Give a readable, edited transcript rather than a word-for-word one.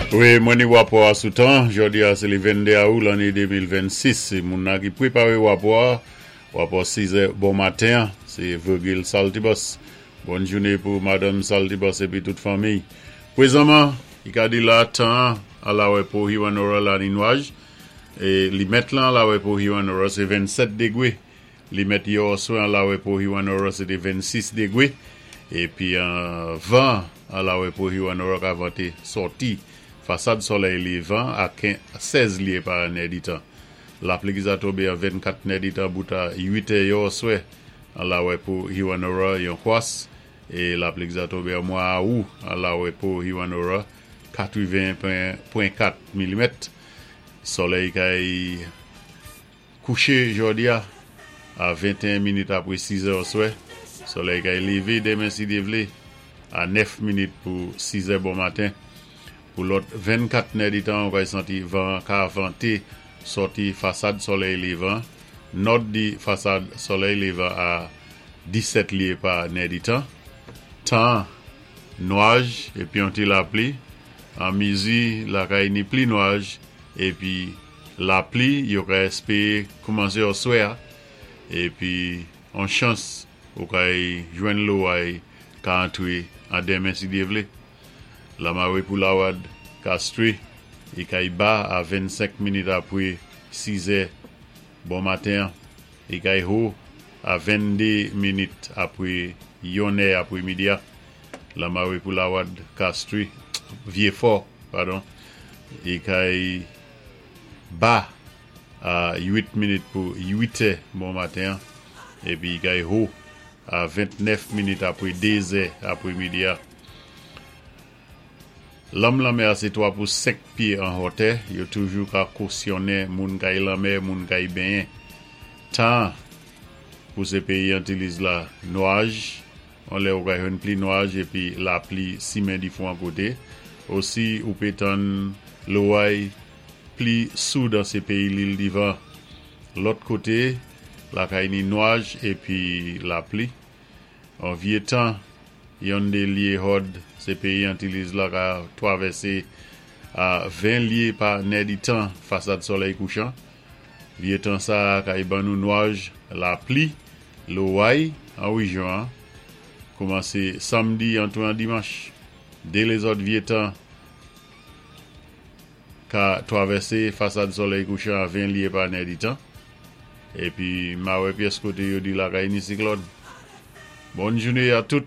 Wi, mwen ni wapò a sou tan. Jòdi a sé le 22 awou lanné 2026. Moun nan ki pwéparé wapò a, wapò 6 è bon maten an, sé Virgil Saltibus. Bòn jouné pou Madanm Saltibus épi tout fanmiy. Pwézanman, i ka di la tan an alawè pou Hewanorra la ni nwaj. É limèt lan alawè pou Hewanorra sé 27 degwé. Limèt yè oswè an lawè pou Hewanorra sé té 26 degwé. Épi van an lawè pou Hewanorra ka vanté sòti fasad sòlèy lévan a 16 lyé pa nèditan. Lapli ki za tonbé an 24 nèditan bout a 8 è yè oswè an lawè pou Hewanorra yon kwas é lapli ki za tonbé an mwa awou an lawè pou Hewanorra 80.4 milimèt. Sòlèy kay Kouché jòdi a, a 21 minit apwé 6 è oswè, solèy kay lévé denmen si Dye vlé, a 9 minit pou 6 è bon maten. Pou lòt 24 nèditan ou kay santi van an ka vanté sòti fasad solèy lévan, nòd di fasad solèy lévan a 17 lyé pa nèditan. Tan an, nwaj épi yon ti lapli, an mizi lakay ni pli nwaj épi Lapli yo ka espere koumanse oswè a, epi on chans ou kay jwenn loway ka antre an denmen si Dye vle. Lamare pou Lawad Castries i kay ba a 25 minit apre 6 è bon maten an, i kay ho a 22 minit apre yon è apre midi a. Lamare pou Lawad Castries, Vyefò, padon, i kay ba a 8 minit pou 8 è bon maten an epi kay ho a 29 minit apre 2 zè apre midi a. Lanm lanmè a sé 3 pou 5 pye an hòtè, yo toujou ka kosyonnen moun kay lanmè, moun kay benyen. Tan pou sé peyi Antiliz la nwaj, on lè ou ka jwenn pli nwaj epi lapli simen difwan koté. Osi ou pé tann loway pli sou dan sé peyi Lil Divan. Lòt koté, lakay ni nwaj epi lapli. On vyé tan, yonn dé lye hòd sé peyi Antiliz la ka twavèsé a 20 lye pa nèditan fasad sòlèy kouchan. Vye tan sa a kay ban nou nwaj, lapli, loway an rejyon an koumanse samdi antre an dimanch. De lezòt vye tan ka twavèse fasad solèy kouchan a 20 lye pa nèditan. Epi ma wè pyès kote yo di lakay ni siklòn. Bòn joune a tout!